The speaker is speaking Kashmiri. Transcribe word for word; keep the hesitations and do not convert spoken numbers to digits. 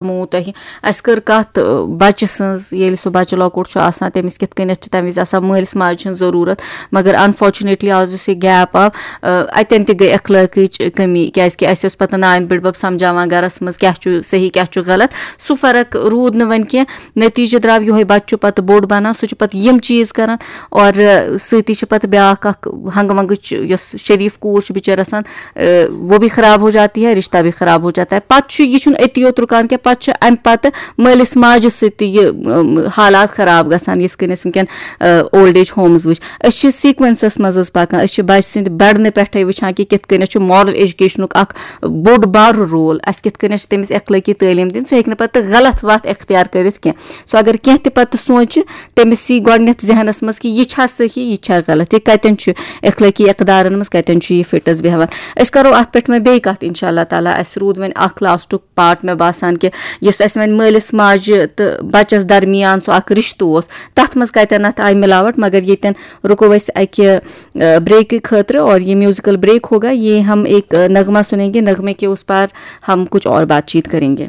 ووٚنمو تۄہہِ، اَسہِ کٔر کَتھ، آ، بَچہٕ سٕنٛز۔ ییٚلہِ سُہ بَچہٕ لۄکُٹ چھُ آسان، تٔمِس کِتھ کٔنٮ۪تھ چھِ تَمہِ وِزِ آسان مٲلِس ماجہِ ہٕنٛز ضروٗرت۔ مگر unfortunately آز یُس یہِ gap آو، آ، اَتٮ۪ن تہِ گٔے اخلٲقٕچ کٔمی، کیٛازِکہِ اَسہِ اوس پَتہٕ نانۍ بٕڈبَب سَمجھاوان گَرَس منٛز کیٛاہ چھُ صحیح، کیٛاہ چھُ غلط۔ سُہ فرق روٗد نہٕ وۄنۍ کینٛہہ۔ نٔتیٖجہٕ درٛاو یِہوٚے، بَچہٕ چھُ پَتہٕ بوٚڑ بَنان، سُہ چھُ پَتہٕ یِم چیٖز کَران۔ اور، آ، سۭتی چھِ پَتہٕ بیٛاکھ اَکھ ہنٛگہٕ منٛگٕچ، یۄس شریٖف کوٗر چھِ بِچٲر آسان، آ، وہ بھی خراب ہو جاتی ہے، رشتہ بھی خراب ہو جاتا ہے۔ پَتہٕ چھُ، یہِ چھُنہٕ أتی یوت رُکان کینٛہہ، پَتہٕ چھُ اَمہِ پَتہٕ مٲلِس ماجہِ سۭتۍ تہِ یہِ، ٲم، حالات خراب گژھان، یِتھ کٔنۍ اَسہِ وٕنکٮ۪ن، آ، old age homes وٕچھ۔ أسۍ چھِ sequenceس منٛز حظ پَکان، أسۍ چھِ بَچہٕ سٕنٛدِ بَڑنہٕ پٮ۪ٹھَے وٕچھان کہِ کِتھ کٔنٮ۪تھ چھُ moral educationُک اَکھ بوٚڑ بار role، اَسہِ کِتھ کٔنٮ۪تھ چھِ تٔمِس اخلٲقی تعلیٖم دِنۍ۔ سُہ ہیٚکہِ نہٕ پَتہٕ غلط وَتھ اختیار کٔرِتھ کینٛہہ۔ سُہ اگر کینٛہہ تہِ پَتہٕ سونٛچہِ، تٔمِس یی گۄڈٕنٮ۪تھ ذہنَس منٛز کہِ یہِ چھا صحیح، یہِ چھا غلط، یہِ کَتٮ۪ن چھُ اخلٲقی اقدارَن منٛز، کَتٮ۪ن چھُ یہِ فِٹَس بیٚہوان۔ أسۍ کَرو اَتھ پٮ۪ٹھ وۄنۍ بیٚیہِ کَتھ اِنشاء اللہ تعالیٰ۔ اَسہِ روٗد وۄنۍ اَکھ lastُک part، مےٚ باسان کہِ یُس اَسہِ وۄنۍ مٲلِس ماجہِ تہٕ بَچَس درمیان سُہ اَکھ رِشتہٕ اوس، تَتھ منٛز کَتٮ۪ن اَتھ آیہِ مِلاوَٹ۔ مگر ییٚتٮ۪ن رُکو أسۍ اَکہِ، آ، breakٕکۍ خٲطرٕ، اور یہِ musical break ہوگا، یہ ہم ایک، آ، نغمہ سنیں گے، نغمے کے اس پار ہم کچھ اور بات چیت کریں گے۔